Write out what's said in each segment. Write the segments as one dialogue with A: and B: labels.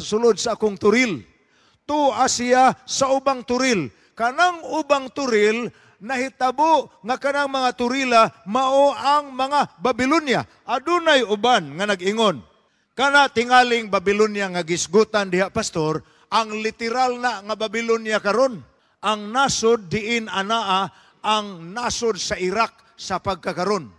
A: sulod sa akong turil. Tua siya sa ubang turil. Kanang ubang turil, nahitabo nga kanang mga turila mao ang mga Babylonia. Adunay uban nga nag-ingon. Kana tingaling Babylonia nga gisgutan diha, pastor, ang literal na nga Babylonia karon. Ang nasod diin anaa ang nasod sa Iraq sa pagkakaron.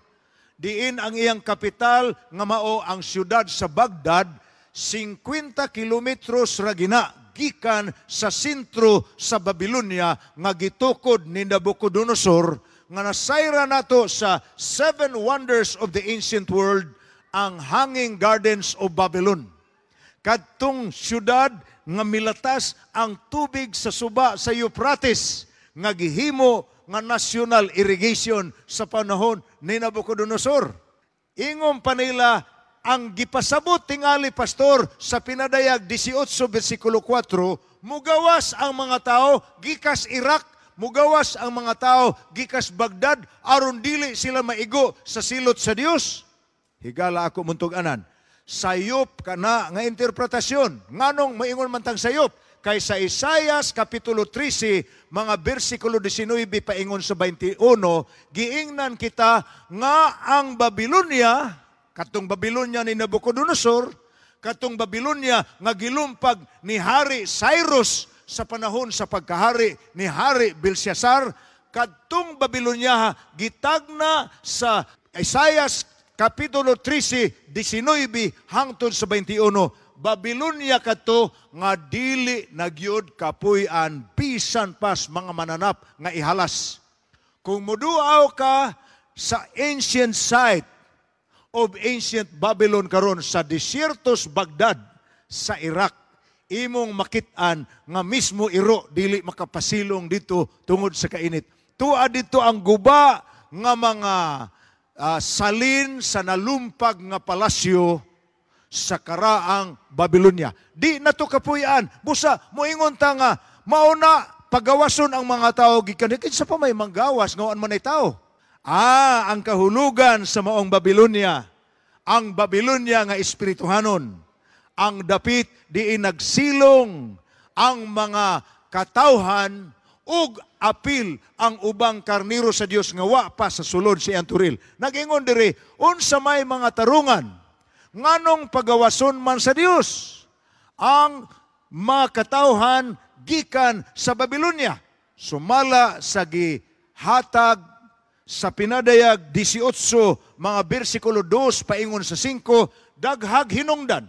A: Diin ang iyang kapital nga mao ang siyudad sa Baghdad, 50 kilometros ra gina gikan sa sentro sa Babylonia nga gitukod ni Nabucodonosor, nga nasayra nato sa Seven Wonders of the Ancient World, ang Hanging Gardens of Babylon. Kadtong syudad nga milatas ang tubig sa suba sa Euphrates nga gihimo nga national irrigation sa panahon ni Nabucodonosor. Ingon pa nila, ang gipasabot tingali, pastor, sa Pinadayag 18 versikulo 4, mugawas ang mga tao gikas Iraq, mugawas ang mga tao gikas Baghdad aron dili sila maigo sa silot sa Dios. Higala ako muntug-anan. Sayop kana nga interpretasyon. Nganong maingon man tang sayop? Kay sa Isayas Kapitulo 13, mga bersikulo 19 paingon sa 21, giingnan kita nga ang Babylonia, katong Babylonia ni Nabucodonosor, katong Babylonia nga gilumpag ni Hari Cyrus sa panahon sa pagkahari ni Hari Belshazzar, kadtong Babylonia gitagna sa Isayas Kapitulo 13, 19 hangtod sa 21, Babylonia kadto nga dili na gyud kapuy-an bisan pas mga mananap nga ihalas. Kung muduaw ka sa ancient site of ancient Babylon karon sa desiertos Baghdad sa Iraq, imong makit-an nga mismo iro dili makapasilong dito tungod sa kainit. Tua dito ang guba nga mga salin sa nalumpag nga palasyo sa karaang Babylonia. Di na to kapuy-an. Busa, moingon ta nga, mauna pagawason ang mga tao gikan kinsa pa may manggawas nga man ay tao. Ah, ang kahulugan sa maong Babylonia, ang Babylonia nga espirituhanon, ang dapit diin nagsilong ang mga katawhan ug apil ang ubang karniro sa Dios nga wa pa sa sulod sa iyang turil. Nagingon diri, unsa may mga tarungan nganong pagawason man sa Dios ang mga katawhan gikan sa Babylonia? Sumala sa gihatag sa Pinadayag 18 mga bersikulo 2 paingon sa 5, daghag hinungdan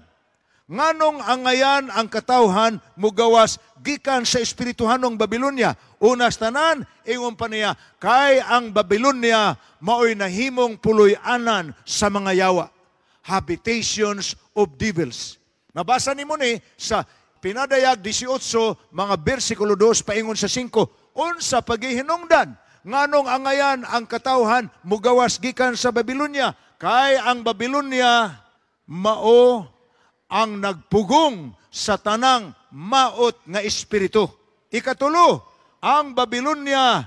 A: nganong angayan ang katawhan mugawas gikan sa espirituhanong Babylonia. Unas tanan, ingon pa niya, kay ang Babylonia maoy nahimong puloy-anan sa mga yawa, habitations of devils. Mabasa nimo ni sa Pinadayag 18 mga bersikulo 2 paingon sa 5. Unsa pagihinungdan nganong angayan ang katawhan mugawas gikan sa Babylonia? Kay ang Babylonia mao ang nagpugong sa tanang maot nga espiritu. Ikatulo, ang Babylonia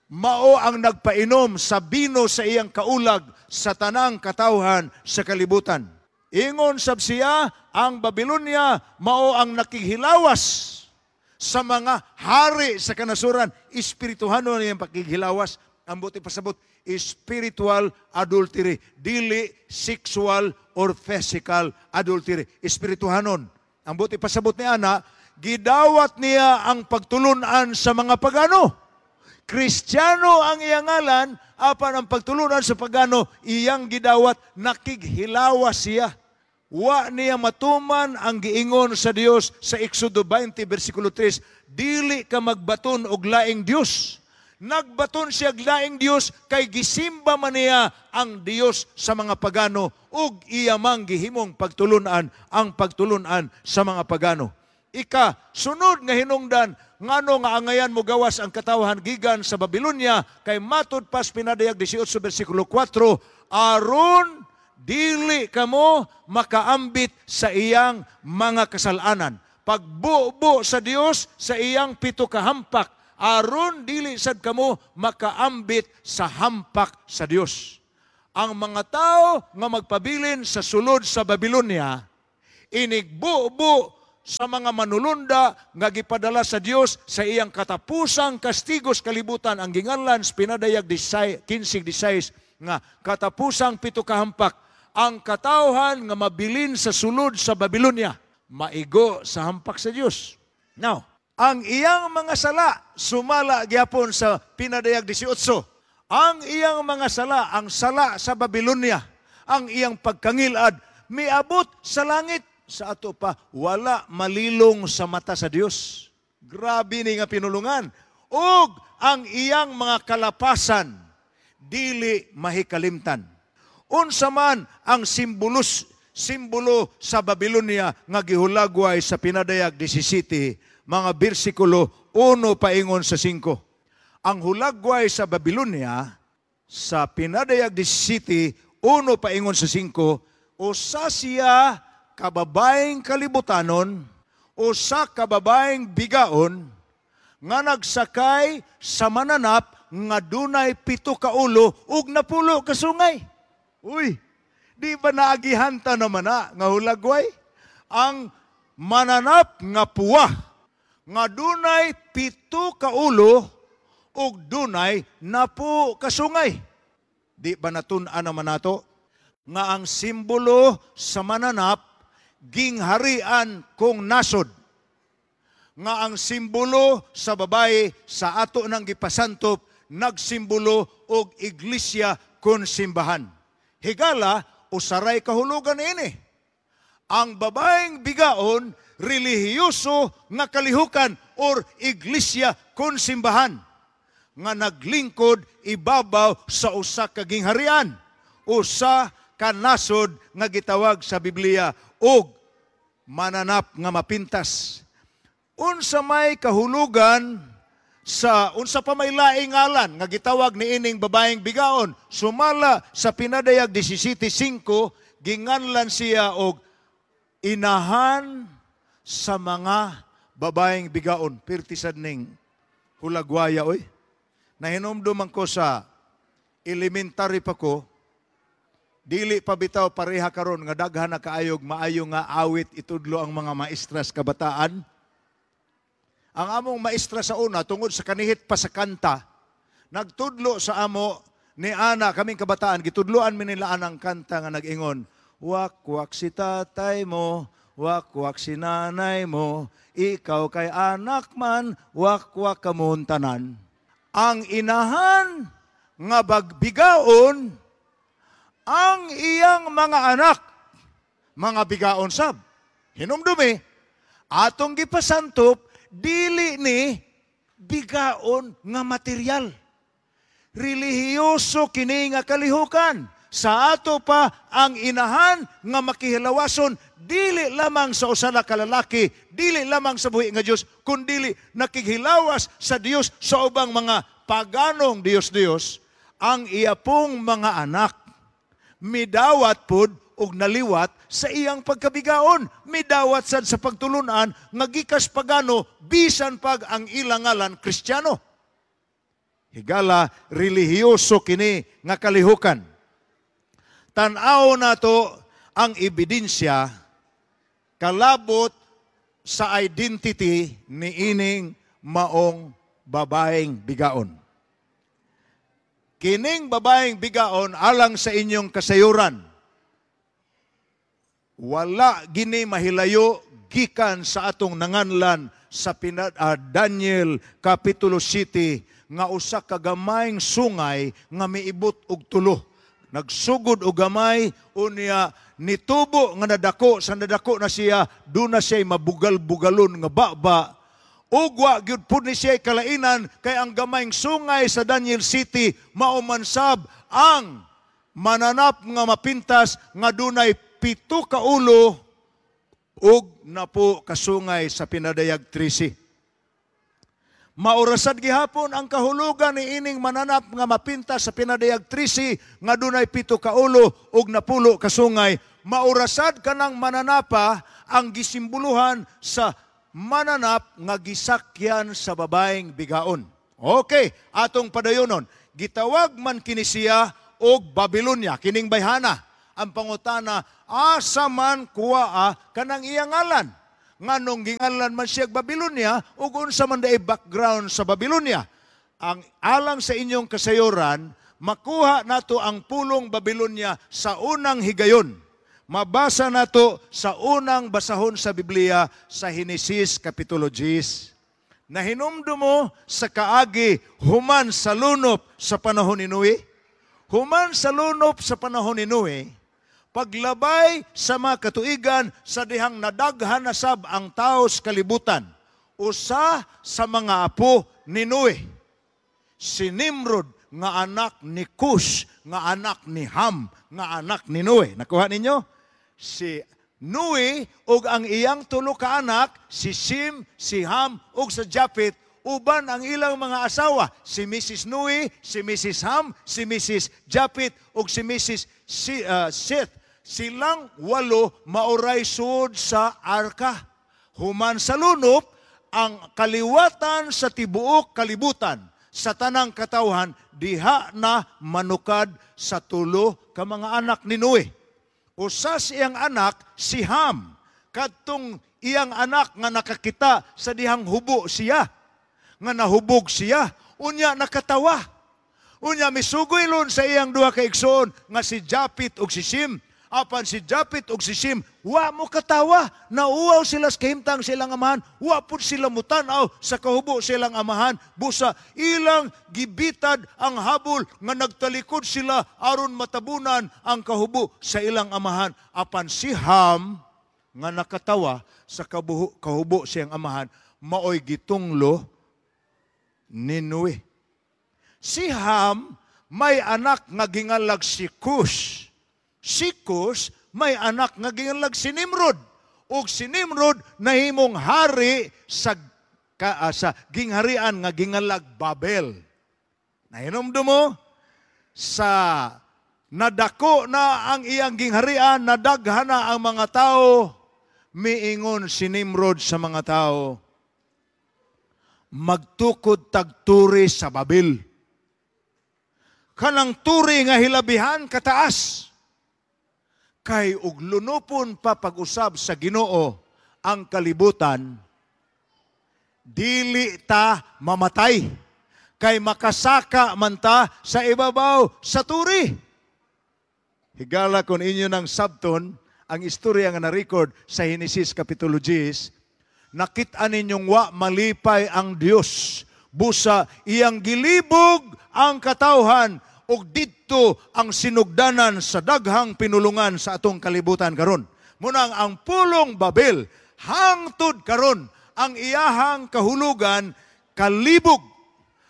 A: mao ang nagpainom sa bino sa iyang kaulag sa tanang katawhan sa kalibutan. Ingon sab siya, ang Babylonia mao ang nakighilawas sa mga hari sa kanasuran. Espirituhanon iyang pakighilawas. Ang buti pasabot, spiritual adultery, dili sexual or physical adultery. Espirituhanon. Ang buti pasabot ni ana, gidawat niya ang pagtulunan sa mga pagano. Kristiyano ang iyang ngalan, apan ang pagtulunan sa pagano, iyang gidawat, nakighilawas siya. Wa niya matuman ang giingon sa Dios sa Exodo 20 versikulo 3, dili ka magbaton og laing Dios. Nagbaton siya og laing Dios kay gisimba man niya ang Dios sa mga pagano ug iya mang gihimong pagtulunan ang pagtulunan sa mga pagano. Ika, sunod nga hinungdan, ngano nga angayan mo gawas ang katawhan gikan sa Babylonia, kay matud pas Pinadayag 18 versikulo 4, aron dili kamo makaambit sa iyang mga kasalanan. Pagbubo sa Dios sa iyang pito kahampak, aron dili sad kamo makaambit sa hampak sa Dios. Ang mga tao nga magpabilin sa sulod sa Babylonia, inigbubo sa mga manulunda nga gipadala sa Dios sa iyang katapusang kastigo sa kalibutan, ang ginganlan sa Pinadayag 15:16 nga katapusang pito kahampak. Ang katawhan nga mabilin sa sulod sa Babylonia maigo sa hampak sa Dios. Now, ang iyang mga sala sumala gyapon sa Pinadayag 18. Ang iyang mga sala, ang sala sa Babylonia, ang iyang pagkangilad miabot sa langit. Sa ato pa, wala malilong sa mata sa Dios. Grabe ni nga pinulungan. Ug ang iyang mga kalapasan dili mahikalimtan. Unsa man ang simbolo sa Babylonia nga gihulagway sa Pinadayag 17, mga bersikulo 1 paingon sa 5? Ang hulagway sa Babylonia sa Pinadayag 17, 1 paingon sa 5, usa siya kababaeng kalibutanon, usa kababaeng bigaon nga nagsakay sa mananap nga dunay 7 ka ulo ug 10 ka sungay. Uy, di ba naagihanta naman na nga hulagway? Ang mananap nga puwa nga dunay 7 ka ulo ug dunay 10 ka sungay. Di ba natun-an naman nato nga ang simbolo sa mananap gingharian kung nasod, nga ang simbolo sa babae sa ato nang gipasantop nagsimbolo og iglesia kun simbahan? Higala, usaray kahulugan ini. Ang babaeng bigaon, relihiyoso nga kalihukan or iglesia kun simbahan nga naglingkod ibabaw sa usa ka gingharian, usa ka nasod nga gitawag sa Biblia og mananap nga mapintas. Unsa may kahulugan sa unsa pa may laing ngalan nga gitawag niining babaeng bigaon? Sumala sa Pinadayag 17:5, ginganlan siya og inahan sa mga babaeng bigaon. Pirti sad ning hulagwaya, oy. Nahinumduman ko sa elementary pa ko, dili pa bitaw pareha karon nga daghan na kaayog maayo nga awit itudlo ang mga maestras kabataan. Ang among maestra sa una, tungod sa kanihit pa sa kanta, nagtudlo sa amo ni ana kaming kabataan, gitudloan mi nila anang kanta nga nag-ingon, "Wak-wak si tatay mo, wak-wak si nanay mo, ikaw kay anak man, wak-wak kamon tanan." Ang inahan nga bagbigaon, ang iyang mga anak, mga bigaon sab. Hinumdumi, atong gipasantop, dili ni bigaon nga material. Relihiyoso kini nga kalihukan. Sa ato pa, ang inahan nga makihilawason, dili lamang sa usa ka lalaki, dili lamang sa buhi nga Dios, kundili nakighilawas sa Dios sa ubang mga paganong Dios-Dios, ang iya pong mga anak midawat pud og naliwat sa iyang pagkabigaon, midawat sad sa pagtulunan nga gikas pagano bisan pag ang ilang ngalan Kristiyano. Higala, relihiyoso kini nga kalihukan. Tan-aw nato ang ebidensya kalabot sa identity ni ining maong babaeng bigaon. Kining babaeng bigaon, alang sa inyong kasayuran, wala gini mahilayo gikan sa atong nanganlan sa Daniel Kapitulo City nga usa ka gamayng sungay nga miibot og tulo. Nagsugod og gamay, unya nitubo nga nadako, sa nadako na siya, doon na siya mabugal-bugalon nga baba. Ugwa gyud pud ni siya kalainan kay ang gamayng sungay sa Daniel City mao man sab ang mananap nga mapintas nga dunay 7 ka ulo ug 10 ka sungay sa Pinadayag 13. Maurasad gihapon ang kahulugan ni ining mananap nga mapintas sa Pinadayag 13 nga dunay 7 ka ulo ug 10 ka sungay. Maurasad kanang mananapa ang gisimboluhan sa mananap nga gisakyan sa babaeng bigaon. Okay, atong padayonon. Gitawag man kini siya og Babylonia, kining bayhana. Ang pangutana, asa man kuwaa kanang iyang ngalan? Nganong gingalan man siya Babylonia ug unsa man diay background sa Babylonia? Ang alang sa inyong kasayuran, makuha nato ang pulong Babylonia sa unang higayon. Mabasa nato sa unang basahon sa Biblia sa Henesis Kapitulo 10. Nahinumdum mo sa kaagi human sa lunop sa panahon ni Noe? Human sa lunop sa panahon ni Noe, paglabay sa mga katuigan sa dihang nadaghan na sab ang tao sa kalibutan, usa sa mga apo ni Noe, si Nimrod nga anak ni Cush, nga anak ni Ham, nga anak ni Noe. Nakuha ninyo? Si Noe ug ang iyang tulo ka anak, si Sim, si Ham ug sa Japhet, uban ang ilang mga asawa, si Mrs. Noe, si Mrs. Ham, si Mrs. Japhet ug si Mrs. Seth. Silang walo maoray suod sa arka. Human sa lunop, ang kaliwatan sa tibuok kalibutan sa tanang katawhan diha na manukad sa tulo ka mga anak ni Noe. Usa sa iyang anak si Ham, kadtong iyang anak nga nakakita sa dihang hubo siya, nga nahubog siya, unya nakatawa. Unya misugoy lon sa iyang duha ka igsoon nga si Japhet ug si Sim. Apan si Japhet ug si Sim, wa mo katawa, nauwaw sila sa kahimtang silang amahan, wa pud sila mutan-aw sa kahubo silang amahan, busa ilang gibitad ang habol nga nagtalikod sila aron matabunan ang kahubo sa ilang amahan. Apan si Ham nga nakatawa sa kahubo siyang amahan, maoy gitunglo ni Noe. Si Ham may anak nga gingalag si Cush. Si Cush may anak nga gingalag si Nimrod. Ug si Nimrod nahimong hari sa gingharian nga gingalag Babel. Nahinumdum mo sa nadako na ang iyang gingharian, nadaghan na ang mga tao, miingon si Nimrod sa mga tao, magtukod tagturi sa Babel. Kanang turi nga hilabihan kataas. Kay og lunupon pa pag-usab sa Ginoo ang kalibutan, dili ta mamatay. Kay makasaka man ta sa ibabaw sa turi. Higala kon inyo ng sabton ang istorya nga na-record sa Henesis Kapitulo 10, nakit-an ninyong wa malipay ang Dios. Busa iyang gilibog ang katawhan ug didto ang sinugdanan sa daghang pinulungan sa atong kalibutan karon. Munang ang pulong Babel hangtod karon ang iyahang kahulugan kalibog,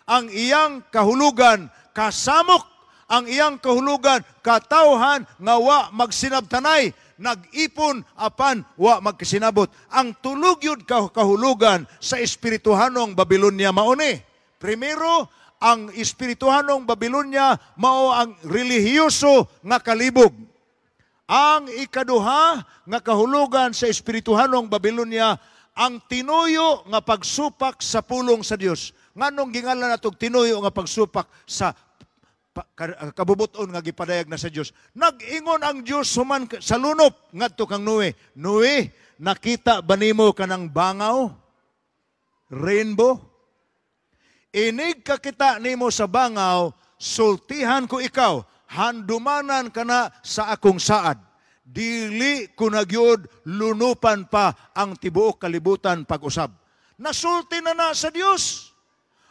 A: ang iyang kahulugan kasamok, ang iyang kahulugan katawhan nga wa magsinabtanay, nag-ipon apan wa magkasinabot. Ang tulog yun kahulugan sa espirituhanong Babylonia mauni. Primero, ang espirituhanong Babylonia mao ang relihiyoso nga kalibog. Ang ikaduha nga kahulugan sa espirituhanong Babylonia, ang tinuyo nga pagsupak sa pulong sa Dios. Nganong gingalan natog tinuyo nga pagsupak sa kabubuton nga gipadayag na sa Dios? Nag-ingon ang Dios human sa lunop ngadto kang Noe. Noe, nakita ba nimo kanang bangaw? Rainbow? Inig kakita nimo sa bangaw, sultihan ko ikaw, handumanan ka na sa akong saad. Dili ko na gyud lunupan pa ang tibuok kalibutan pag-usab. Nasulti na na sa Dios.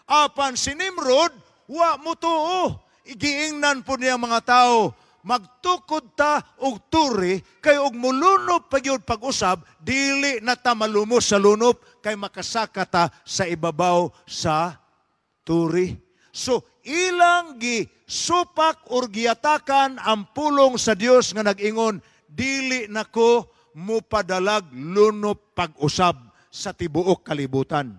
A: Apan si Nimrod, wa mo tuo. Igiingnan po niya mga tao, magtukod ta og turi, kay og mulunop pa gyud pag-usab, dili na ta malumos sa lunop, kay makasaka ta sa ibabaw sa turi. So, ilang gisupak or giatakan ang pulong sa Dios nga nag-ingon, dili nako mupadalag lunop pag-usab sa tibuok kalibutan.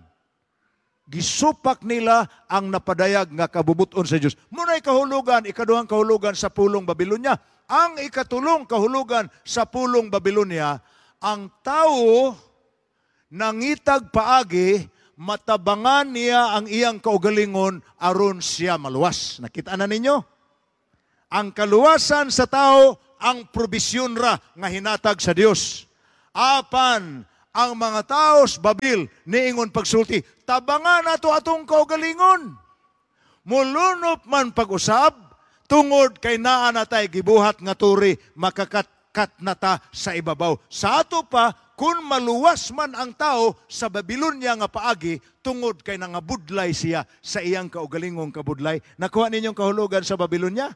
A: Gisupak nila ang napadayag nga kabubuton sa Dios. Muna'y kahulugan, ikaduhang kahulugan sa pulong Babylonia. Ang ikatulong kahulugan sa pulong Babylonia, ang tao nangitag paagi, matabangan niya ang iyang kaugalingon aron siya maluwas. Nakita na ninyo? Ang kaluwasan sa tao, ang probisyon ra nga hinatag sa Dios. Apan Ang mga tao sa Babil niingon pagsulti, "Tabanga nato atong kaugalingon. Mulunop man pag-usab, tungod kay naa na tay gibuhat nga turi, makakatkat na ta sa ibabaw." Sa ato pa, kung maluwas man ang tao sa Babylonia nga paagi, tungod kay nangabudlay siya sa iyang kaugalingong kabudlay. Nakuha ninyong kahulugan sa Babylonia?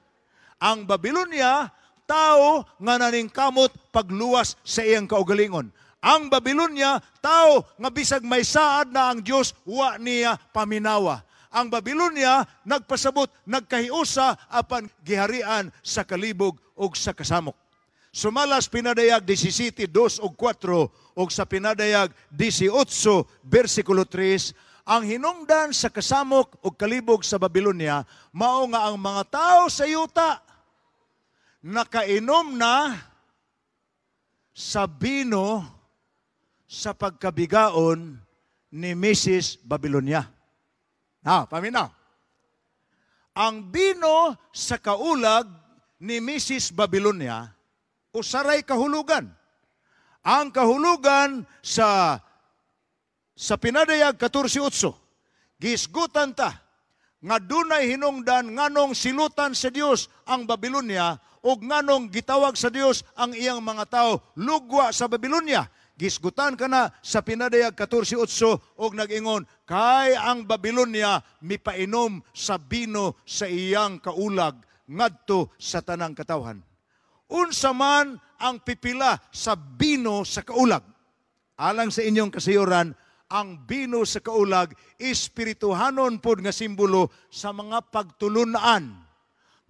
A: Ang Babylonia, tao nga naningkamot pagluwas sa iyang kaugalingon. Ang Babylonia, tao nga bisag may saad na ang Dios, wa niya paminawa. Ang Babylonia nagpasabot, nagkahiusa apan giharian sa kalibog ug sa kasamok. Sumalas Pinadayag 17:2 ug 4 ug sa Pinadayag 18 bersikulo 3, ang hinungdan sa kasamok ug kalibog sa Babylonia mao nga ang mga tao sa yuta nakainom na sa bino sa pagkabigaon ni Mrs. Babylonia. Ha, paminaw. Ang bino sa kaulag ni Mrs. Babylonia, usaray kahulugan. Ang kahulugan sa Pinadayag 14:8, gisgutan ta nga dunay hinungdan nganong silutan sa Dios ang Babylonia ug nganong gitawag sa Dios ang iyang mga tao lugwa sa Babylonia. Gisgutan kana sa Pinadayag 14:8 og nag-ingon kay ang Babylonia mipainom sa bino sa iyang kaulag ngadto sa tanang katawhan. Unsa man ang pipila sa bino sa kaulag? Alang sa inyong kasayuran, ang bino sa kaulag espirituhanon pod nga simbolo sa mga pagtulunan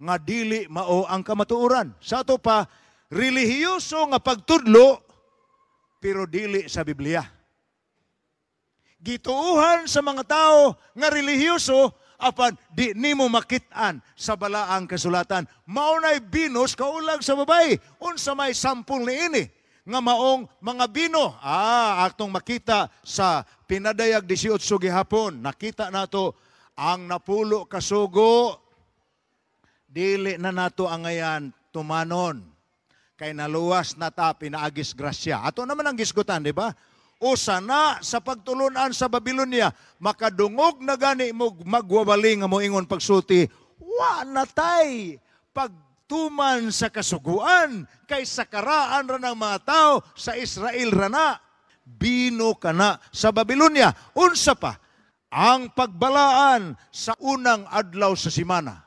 A: nga dili mao ang kamatuoran. Sa ato pa, relihiyoso nga pagtudlo pero dili sa Biblia. Gituuhan sa mga tao nga relihiyoso apan di nimo makit-an sa balaang kasulatan. Mao nay binos kaulag sa babae. Unsa may sampol niini nga maong mga bino? Atong makita sa Pinadayag 18 gihapon. Nakita nato ang 10 ka sugo. Dili na nato angayan tumanon. Kay naluwas na ta pinaagis grasya. Ato naman ang gisgutan, di ba? Usa na sa pagtulunan sa Babylonia, makadungog na gani mo magwawali nga moingon pagsulti, wa na tay pagtuman sa kasuguan, kay sa karaan ra ng mga tao sa Israel ra na. Bino kana sa Babylonia. Unsa pa? Ang pagbalaan sa unang adlaw sa simana.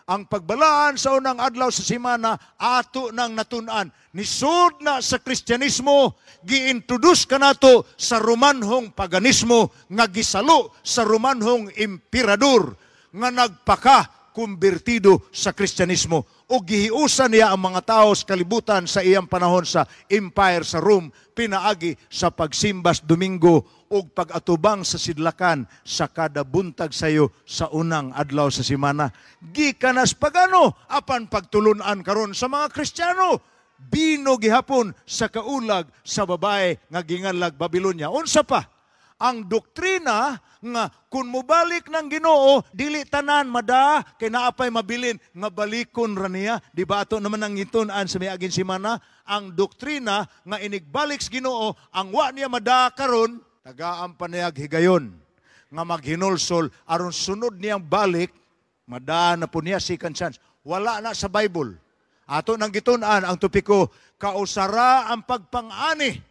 A: Ang pagbalaan sa unang adlaw sa simana, ato nang natun-an. Nisud na sa Kristyanismo, giintroduce kanato sa Romanhong paganismo nga gisalo sa Romanhong emperador nga nagpaka kumbirtido sa Kristyanismo. O gihiusan niya ang mga tao sa kalibutan sa iyang panahon sa empire sa Rome, pinaagi sa pagsimbas Domingo ug pag-atubang sa sidlakan sa kada buntag sayo sa unang adlaw sa simana. Gikanas pagano apan pagtulunan karon sa mga Kristiyano, bino gihapon sa kaulag sa babae nga ginganlag Babylonia. Unsa pa? Ang doktrina nga kung mobalik ng Ginoo, dili tanan mada, kay naapay mabilin nga balikon ra niya. Di ba ato naman ang gitun-an sa miaging simana? Ang doktrina nga inigbalik sa Ginoo, ang wa niya mada karon, tagaan pa niyag higayon nga maghinulsol aron sunod niyang balik, mada na po niya second chance. Wala na sa Bible. Ato nang gitun-an ang topiko, kausara ang pagpang-ani,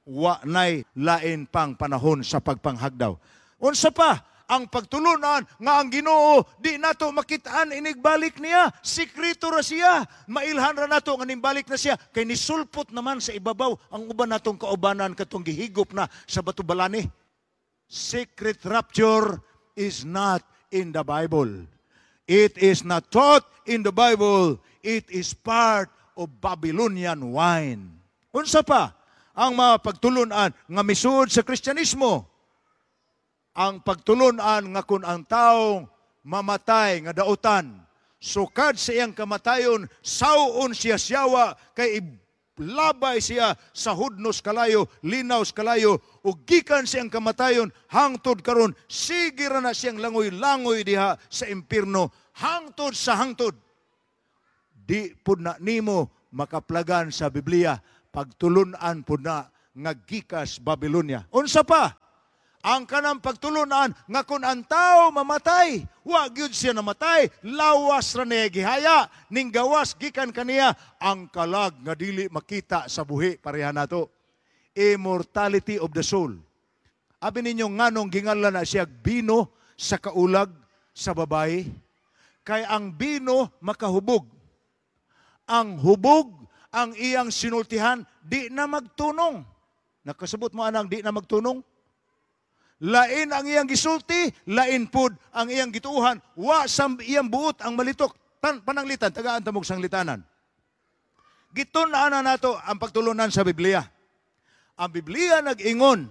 A: wa nay lain pang panahon sa pagpanghagdaw. Unsa pa? Ang pagtulunan nga ang Ginoo di nato makitaan inigbalik niya, sikreto ra siya, mailhan ra nato nga nimbalik na siya kay nisulpot naman sa ibabaw ang uban natong kaubanan katong gihigop na sa batubalani. Secret rapture is not in the Bible. It is not taught in the Bible. It is part of Babylonian wine. Unsa pa ang mga pagtulunan nga misuod sa Kristyanismo? Ang pagtulunan nga kung ang taong mamatay nga dautan, sukad sa iyang kamatayon, saon siya siyawa, kay labay siya sa hudnos kalayo, linaws kalayo, ug gikan siyang kamatayon, hangtod karon sige ra na siyang langoy-langoy diha sa impierno, hangtod sa hangtod. Di pud na nimo makaplagan sa Biblia, pagtulunan pud na nga gikas Babylonia. Unsa pa? Ang kanang pagtulunan nga kung ang tao mamatay, wa gyud siya namatay, lawas ra niya gihaya, ning gawas gikan kaniya ang kalag nga dili makita sa buhi, pareha nato. Immortality of the soul. Abi ninyo nganong ginganlan na siya bino sa kaulag sa babae? Kay ang bino makahubog. Ang hubog, ang iyang sinultihan, di na magtunong. Nakasabot mo anang di na magtunong? Lain ang iyang gisulti, lain pud ang iyang gituuhan, wa sa iyang buot ang malitok. Pananglitan, tagaan tamog sanglitanan. Gitun-an na nato ang pagtulunan sa Biblia. Ang Biblia nag-ingon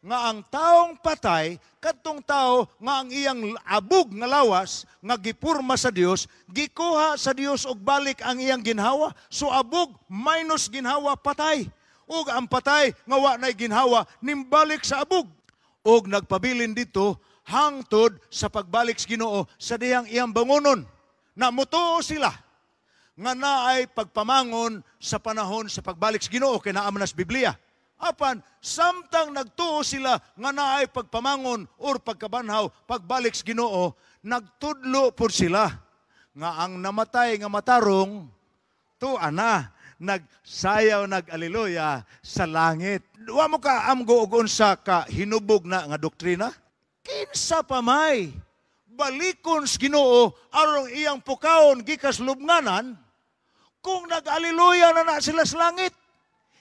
A: nga ang taong patay, kadtong tao nga ang iyang abog nga lawas nga gipurma sa Dios, gikuha sa Dios og balik ang iyang ginhawa. So abog minus ginhawa, patay. Ug ang patay nga wa nay ginhawa nimbalik sa abog og nagpabilin dito hangtod sa pagbalik sa Ginoo sa dihang iyang bangonon. Na mutuo sila nga naay pagpamangon sa panahon sa pagbalik sa Ginoo kay naa man sa Biblia. Apan samtang nagtuo sila nga naay pagpamangon or pagkabanhaw pagbalik sa Ginoo, nagtudlo pud sila nga ang namatay nga matarong tuwa na nagsayaw, nag-aleluya sa langit. Wa mo ka amgo og unsa ka hinubog na nga doktrina? Kinsa pa may balikon sa Ginoo aron iyang pukawon gikas lubnganan kung nag-aleluya na na sila sa langit?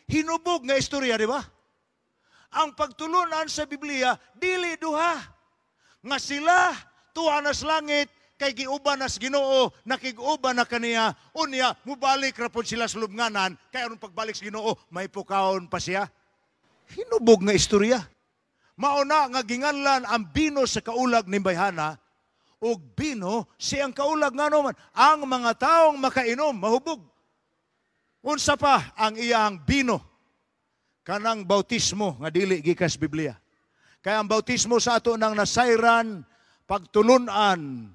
A: Hinubog nga istorya, di ba? Ang pagtulunan sa Biblia, dili duha. Nga sila, tuwa na sa langit, kay giuban na sa Ginoo, nakig-uban na kaniya, unya, mubalik ra pod sila sa lubnganan, kay aron pagbalik sa Ginoo, may pukawon pa siya. Hinubog nga istorya. Mauna nga ginganlan ang bino sa kaulag ni bayhana, ug bino siyang kaulag nga naman. Ang mga taong makainom, mahubog. Unsa pa ang iyang bino? Kanang bautismo nga dili gikas Biblia. Kaya ang bautismo sa ato nang nasayran pagtulunan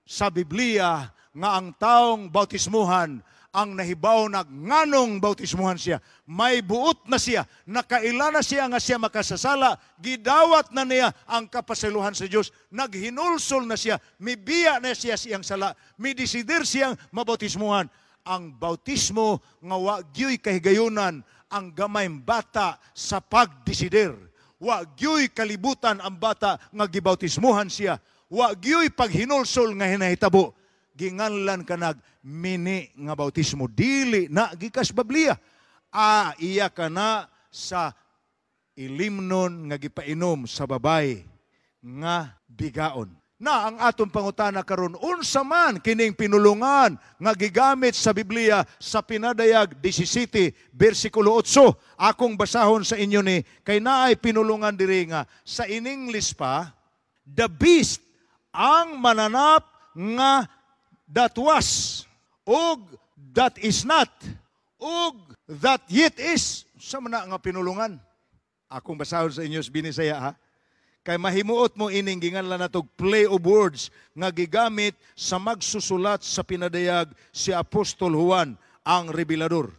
A: sa Biblia nga ang taong bautismuhan ang nahibaw na nganong bautismuhan siya. May buot na siya, nakaila na siya nga siya makasasala, gidawat na niya ang kapasiluhan sa Dios, naghinulsol na siya, mibiya na siya siyang sala, midesidir siyang mabautismuhan. Ang bautismo nga wa gyuy kahigayunan ang gamay bata sa pagdesidir. Wa gyuy kalibutan ang bata nga gibautismuhan siya. Wa gyuy paghinulsol nga hinahitabo. Ginganlan kanag mini nga bautismo. Dili na gikas Biblia. Ah, iya ka na sa ilimnon nga gipainom sa babay nga bigaon. Na ang atong pangutana karon, unsa man kining pinulungan nga gigamit sa Biblia sa Pinadayag 17 bersikulo 8? Akong basahon sa inyo ni kay naay pinulungan diri nga sa in English pa, the beast ang mananap nga that was ug that is not ug that yet is. Sa man nga pinulungan? Akong basahon sa inyo sa Binisaya ha. Kay mahimuot mo ining ginganlan natog play of words nga gigamit sa magsusulat sa Pinadayag si Apostol Juan ang Revelador.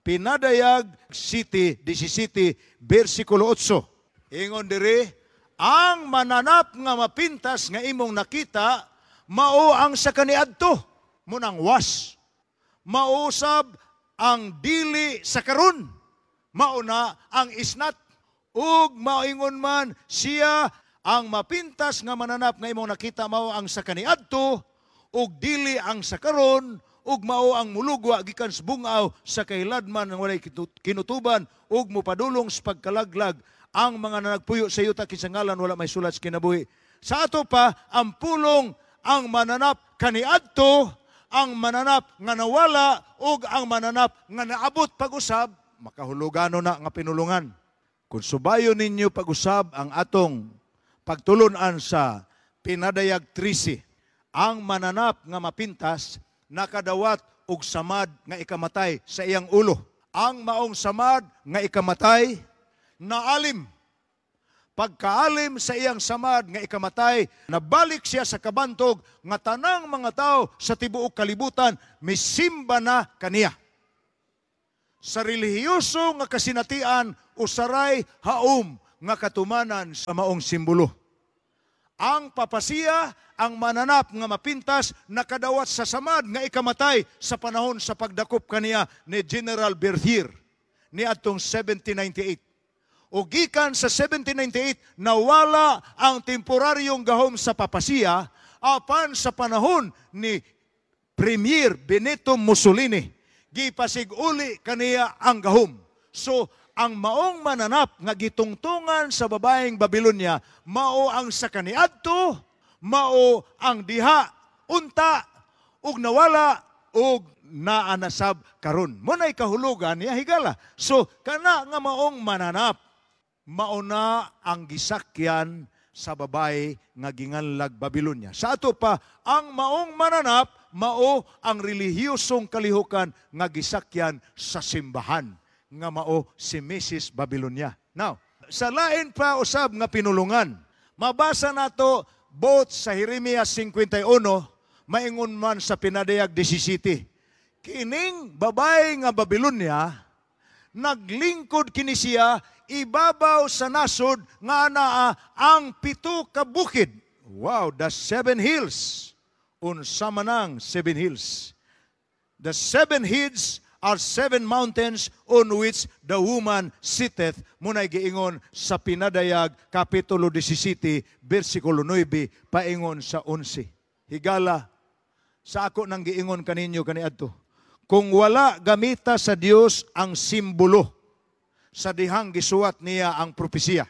A: Pinadayag City 17 bersikulo 8. Ingon diri, ang mananap nga mapintas nga imong nakita mao ang sa kaniadto, munang was. Mausab ang dili sa karon, mao na ang isnat. Ug maingon man siya ang mapintas nga mananap nga imong nakita mao ang sa kaniadto ug dili ang sa karon, ug mao ang mulugwa gikan sa bungaw sa kahiladman nga walay kinutuban ug mopadulong sa pagkalaglag ang mga nanagpuyo sa yuta kinsa ngalan wala may sulat sa kinabuhi. Sa ato pa ang pulong ang mananap kaniadto, ang mananap nga nawala ug ang mananap nga naabot pag-usab, makahulugano na nga pinulungan. Kung subayon ninyo pag-usab ang atong pagtulunan sa Pinadayag 13, ang mananap nga mapintas nakadawat og samad nga ikamatay sa iyang ulo. Ang maong samad nga ikamatay naalim. Pagkaalim sa iyang samad nga ikamatay, nabalik siya sa kabantog nga tanang mga tao sa tibuok kalibutan misimba na kaniya. Sa relihiyoso nga kasinatian, Usaray haom nga katumanan sa maong simbolo. Ang papasiya, ang mananap nga mapintas, nakadawat sa samad nga ikamatay sa panahon sa pagdakop kaniya ni General Berthier ni atong 1798. O gikan sa 1798, nawala ang temporaryong gahom sa papasiya, apan sa panahon ni Premier Benito Mussolini, gipasig-uli kaniya ang gahom. So, ang maong mananap nga gitungtungan sa babaeng Babylonia, mao ang sa kaniadto, mao ang diha, unta, ug nawala, ug naanasab karon. Mao nay kahulugan niya, higala. So, kana nga maong mananap, mauna ang gisakyan sa babae nga ginganlag Babylonia. Sa ato pa, ang maong mananap, mao ang relihiyosong kalihukan nga gisakyan sa simbahan nga mao si Mrs. Babylonia. Now, sa lain pa usab nga pinulungan, mabasa nato both sa Jeremias 51, maingon man sa Pinadayag 17. Kining babae nga Babylonia, naglingkod kini siya ibabaw sa nasod nga anaa ang pito ka bukid. Wow, the seven hills. Unsa man ang seven hills? The seven heads are seven mountains on which the woman sitteth. Mao nay giingon sa Pinadayag, Kapitulo 17, versikulo 9, paingon sa 11. Higala, sa ako nang giingon kaninyo kaniadto, kung wala gamita sa Dios ang simbolo sa dihang gisuwat niya ang propesiya,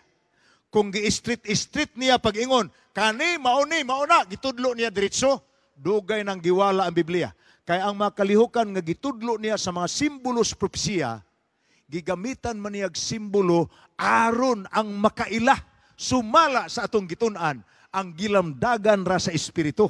A: kung gi-street-street niya pag-ingon, kani, mauni, mauna, gitudlo niya diretso, dugay nang giwala ang Biblia. Kaya ang mga kalihukan nga gitudlo niya sa mga simbolo sa propesiya, gigamitan man niyag simbolo aron ang makaila, sumala sa atong gitun-an, ang gilamdagan ra sa espiritu.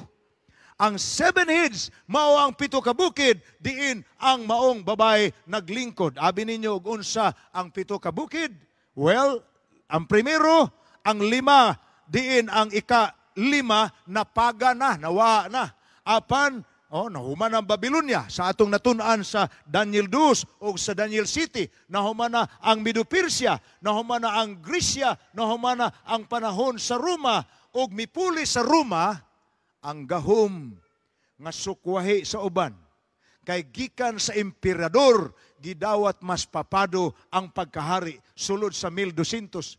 A: Ang seven heads, mao ang pito ka bukid, diin ang maong babae naglingkod. Abi ninyo og unsa ang pito ka bukid? Well, ang primero, ang lima, diin ang ika lima, napaga na, nawa na. Apan, oh, nahuman ang Babylonia sa atong natun-an sa Daniel 2 o sa Daniel City. Nahuman na ang Medo-Persia, nahuman na ang Gresya, nahuman na ang panahon sa Roma, ug mipuli sa Roma ang gahom nga sukwahi sa uban. Kay gikan sa emperador, gidawat mas papado ang pagkahari sulod sa 1260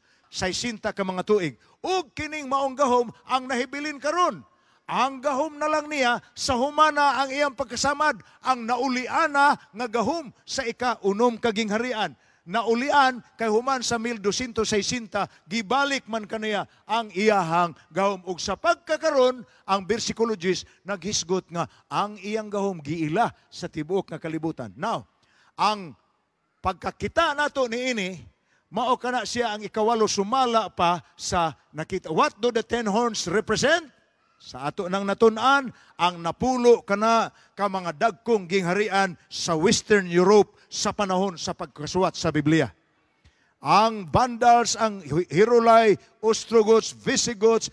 A: ka mga tuig. Ug kining maong gahom ang nahibilin karon. Ang gahom na lang niya sa humana ang iyang pagkasamad, ang nauliana nga gahom sa ika-unom kaging harian. Naulian kay human sa 1260, gibalik man kaniya ang iyahang gahom. Ug sa pagkakaron, ang versikulo 10 naghisgot nga ang iyang gahom giila sa tibuok nga kalibutan. Now, ang pagkakita nato niini, mao kana siya ang ikawalo sumala pa sa nakita. What do the 10 horns represent? Sa ato nang natun-an, ang napulo kana ka mga dagkong gingharian sa Western Europe sa panahon sa pagkasuwat sa Biblia. Ang Vandals, ang Heruli, Ostrogoths, Visigoths,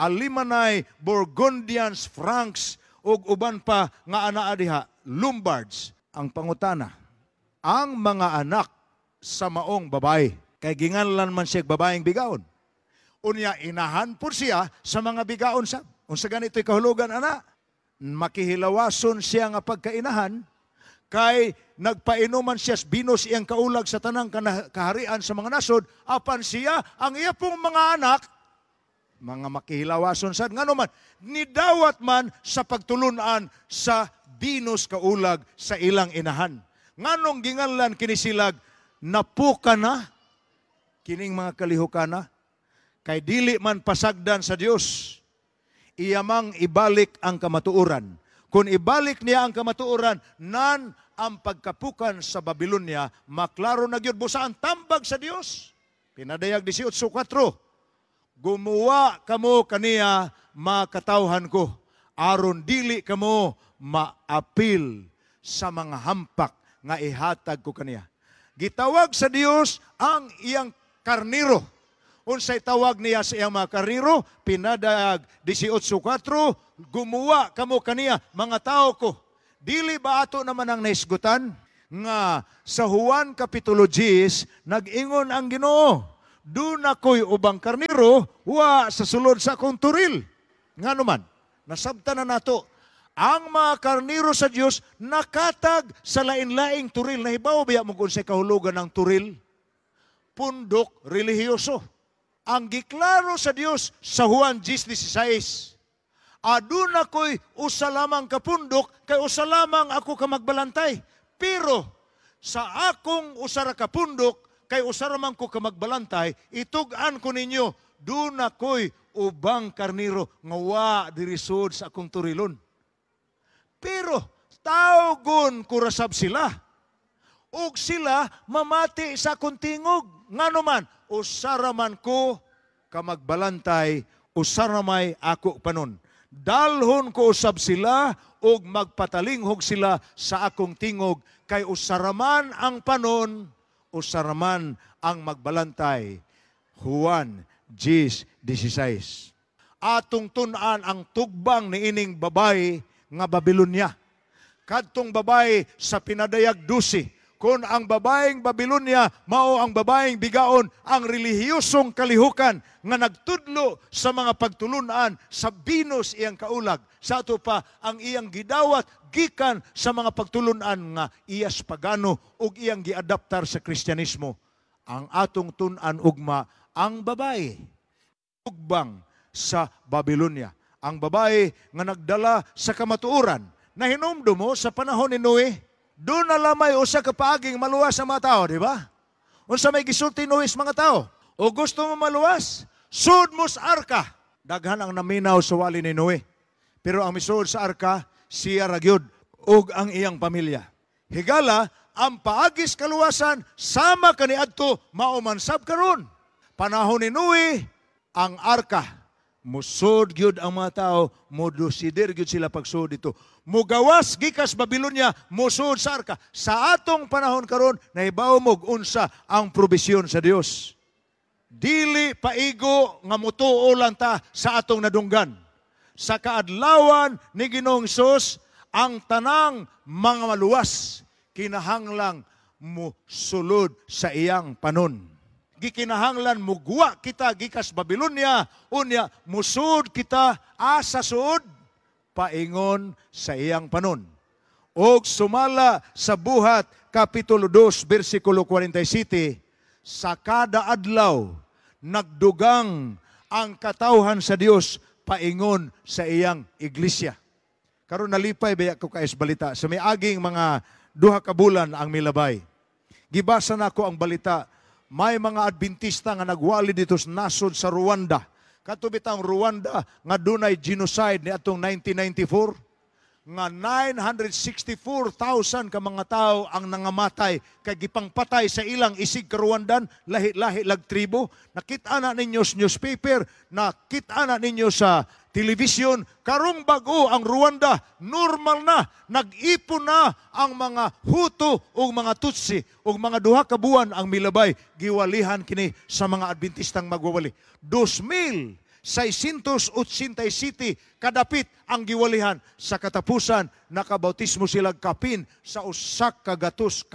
A: Alemanni, Burgundians, Franks, ug uban pa nga anaa diha, Lombards. Ang pangutana, ang mga anak sa maong babae, kay ginganlan man siya babaeng bigaon. Unya, inahan po siya sa mga bigaon sa. Unsa ganito'y kahulugan, ana? Makihilawason siya nga pagkainahan, kay nagpainuman siya binos iyang kaulag sa tanang kaharian sa mga nasod, apan siya, ang iya pong mga anak, mga makihilawason sad, ngano man, nidawat man sa pagtulunan sa binos kaulag sa ilang inahan. Nganong ginganlan kini silag, napuka na, kining mga kalihukana, kay dili man pasagdan sa Dios, iyamang ibalik ang kamatuoran. Kung ibalik niya ang kamatuoran, nan ang pagkapukan sa Babylonia, maklaro na gyud busa ang tambag sa Dios. Pinadayag 18:4, gumawa kamo kaniya, makatawhan ko, aron dili kamo maapil sa mga hampak nga ihatag ko kaniya. Gitawag sa Dios ang iyang karniro. Unsay tawag niya sa iyang mga karniro? Pinadayag 18:4, gumawa kamo kaniya, mga tao ko. Dili ba ato naman ang naisgutan? Nga sa Juan Kapitulo 10, nag-ingon ang Ginoo, "Duna ko'y ubang karniro, wa sa sulod sa akong turil." Nga naman, nasabtan na nato, ang mga karniro sa Dios nakatag sa lain-laing turil. Nahibaw biya mo kung sa kahulugan ng turil? Pundok relihiyoso. Ang giklaro sa Dios sa Juan 10:16, "Aduna ko'y usa lamang ka pundok, kay usa lamang ako ka magbalantay. Pero sa akong usa ra ka pundok, kay usa ra man ko ka magbalantay, itug-an ko ninyo, duna ko'y ubang karniro nga wa diri sud sa akong turilon. Pero tawgon ko ra sab sila. Ug sila mamati sa akong tingog. Ngano man, usa ra man ko ka magbalantay, usa ra may ako panon. Dalhon ko usab sila ug magpatalinghog sila sa akong tingog, kay usa ra man ang panon, usa ra man ang magbalantay." Juan 10:16. Atong tun-an ang tugbang niining babae nga Babylonia. Kadtong babae sa Pinadayag 12, kung ang babaeng Babylonia mao ang babaeng bigaon, ang relihiyosong kalihukan nga nagtudlo sa mga pagtulunan sa Venus iyang kaulag. Sa ato pa ang iyang gidawat gikan sa mga pagtulunan nga iyas pagano ug iyang giadaptar sa Kristyanismo. Ang atong tun-an ugma ang babae ugbang sa Babylonia. Ang babae nga nagdala sa kamatuoran. Nahinumdum mo sa panahon ni Noe, duna lamay usa ka paaging maluwas ang mga tao, di ba? Unsa may gisulti Noe sa mga tao? "O gusto mo maluwas? Sud mo sa arka." Daghan ang naminaw sa wali ni Noe. Pero ang misuod sa arka, siya ra gyud ug ang iyang pamilya. Higala, ang paagis kaluwasan sama kaniadto mao man sab karon. Panahon ni Noe, ang arka, musod gyud ang mga tao, modosider gyud sila pagsud dito. Mugawas gikas Babylonia, musod sa arka. Sa atong panahon karon, nahibaw mo unsa ang probisyon sa Dios. Dili paigo nga mutuo lang ta sa atong nadunggan. Sa kaadlawan ni Ginoong Hesus, ang tanang mga maluwas kinahanglang musulod sa iyang panon. Gikinahanglan mugwa kita gikas Babylonia, unya musud kita asa suod paingon sa iyang panon. Og sumala sa Buhat Kapitulo 2 bersikulo 47, sa kada adlaw nagdugang ang katawhan sa Dios paingon sa iyang iglesia. Karon nalipay baya ko kaes balita sa miaging mga 2 ka bulan ang milabay. Gibasa nako ang balita, may mga Adventista nga nagwali dito sa nasod sa Rwanda. Kato bitang Rwanda nga dunay genocide ni atong 1994 nga 964,000 ka mga tao ang nangamatay kay gipangpatay sa ilang isig ka-Rwandan, lahi-lahi lag tribo. Nakita na ninyo sa newspaper, nakita na ninyo sa television, karong bag-o ang Rwanda, normal na, nag-ipon na ang mga Hutu ug mga Tutsi ug mga 2 ka buwan ang milabay, giwalihan kini sa mga Adventistang magwawali. 2,687 kadapit ang giwalihan. Sa katapusan, nakabautismo sila kapin sa 100,000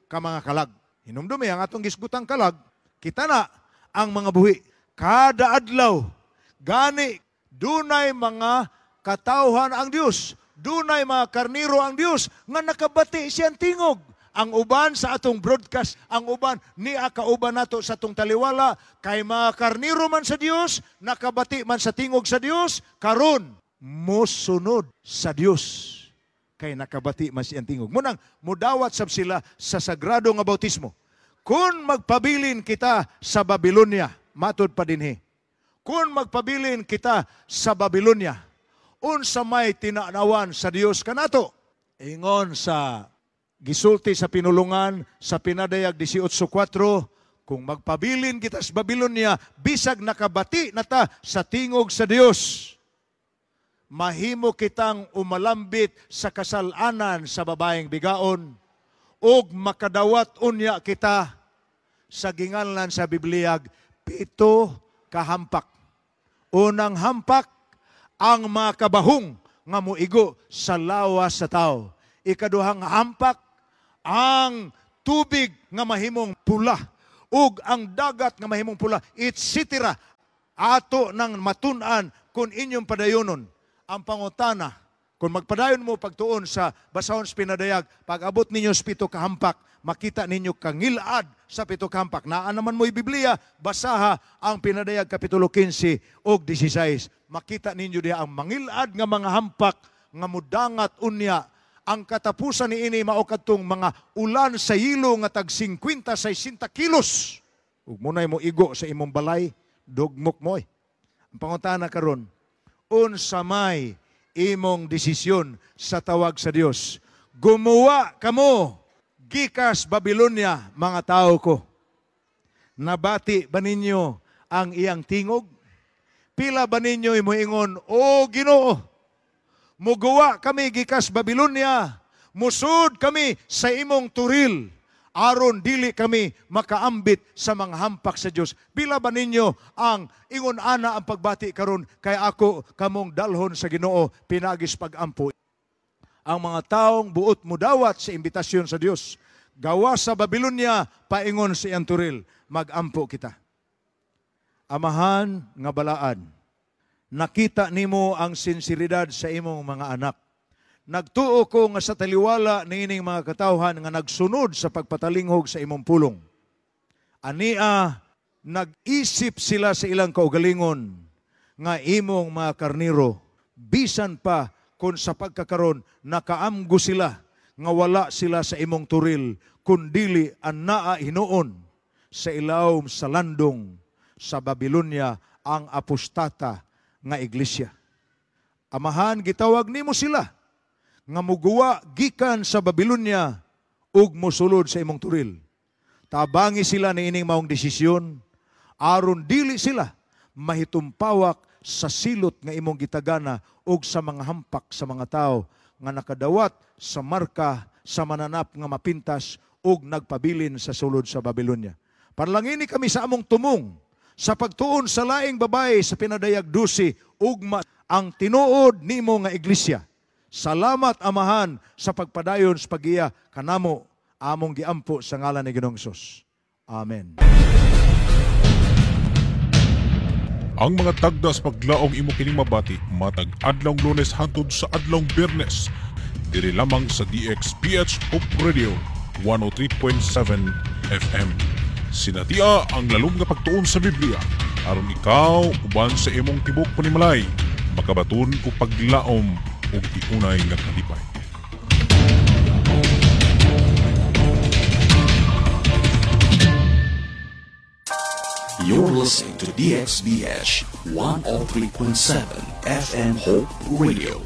A: ka mga kalag. Hinumdumi ang atong gisgutang kalag, kita na ang mga buhi. Kada adlaw, gani dunay mga katawhan ang Dios, dunay mga karniro ang Dios nga nakabati siyang tingog. Ang uban sa atong broadcast, ang uban niya kauban nato sa atong taliwala, kay mga karniro man sa Dios, nakabati man sa tingog sa Dios, karon mosunod sa Dios kay nakabati man siyang tingog. Munang mudawat sab sila sa sagrado nga bautismo. Kung magpabilin kita sa Babylonia, matud pa dinhi. Kung magpabilin kita sa Babylonia, unsa may tinanawan sa Dios kanato? Ingon sa gisulti sa pinulungan sa Pinadayag 18:4, kung magpabilin kita sa Babylonia, bisag nakabati na ta sa tingog sa Dios, mahimo kitang umalambit sa kasalanan sa babaeng bigaon, ug makadawat unya kita sa ginganlan sa Bibliag 7 kahampak. Unang hampak, ang mga kabahong nga moigo sa lawas sa tao. Ikaduhang hampak, Ang tubig nga mahimong pula ug ang dagat nga mahimong pula, etc. Ato nang matun-an kung inyong padayonon. Ang pangutana, kung magpadayon mo pagtuon sa basahon sa Pinadayag, pag abot ninyo sa pito kahampak, makita ninyo kangilad sa pito kahampak. Naa naman mo'y Biblia, basaha ang Pinadayag Kapitulo 15 og 16. Makita ninyo diha ang mangilad nga mga hampak nga mudangat unya. Ang katapusan ni ini mao kadtong mga ulan sa yelo nga tag 50 60 kilos. Ug munay mo igo sa imong balay, dugmok mo. Ang pangutana karon, unsa may imong desisyon sa tawag sa Dios? Gumawa kamo gikas Babylonia, mga tao ko. Nabati ba ninyo ang iyang tingog? Pila ba ninyo moingon, "O Ginoo, muguwa kami gikas Babylonia, musud kami sa imong turil, aron dili kami makaambit sa mga hampak sa Dios"? Pila ba ninyo ang ingon ana ang pagbati karon kay ako kamong dalhon sa Ginoo pinagis pagampo? Ang mga taong buot mudawat sa imbitasyon sa Dios, gawa sa Babylonia paingon sa iyang turil, magampo kita. Amahan nga balaan, nakita nimo ang sinseridad sa imong mga anak. Nagtuo ko nga sa taliwala niining mga katawhan nga nagsunod sa pagpatalinghog sa imong pulong. Ania, nag-isip sila sa ilang kaugalingon nga imong mga karniro, bisan pa kung sa pagkakaron nakaamgo sila nga wala sila sa imong turil, kundili anaa hinuon sa ilawom sa landong sa Babylonia ang apostata nga iglesia. Amahan, gitawag nimo sila nga muguwa gikan sa Babylonia ug mosulod sa imong turil. Tabangi sila niining maong desisyon aron dili sila mahitumpawak sa silot nga imong gitagana ug sa mga hampak sa mga tao nga nakadawat sa marka sa mananap nga mapintas ug nagpabilin sa sulod sa Babylonia. Panlangini kami sa among tumong sa pagtuon sa laing babae sa Pinadayag 12, ugma ang tinuod nimo nga iglesia. Salamat, Amahan, sa pagpadayon sa pagiya kanamo, among giampo sa ngalan ni Ginoong Hesus. Amen.
B: Ang mga tagdas paglaong imo kining mabati matag adlawng Lunes hangtod sa adlawng Biyernes diri lamang sa DXPH Hope Radio 103.7 FM. Sinatia ang lalom nga pagtuon sa Biblia aron ikaw uban sa imong tibok panimalay makabaton og paglaom ug tiunay nga kalipay.
C: You're listening to DXBH 103.7 FM Hope Radio.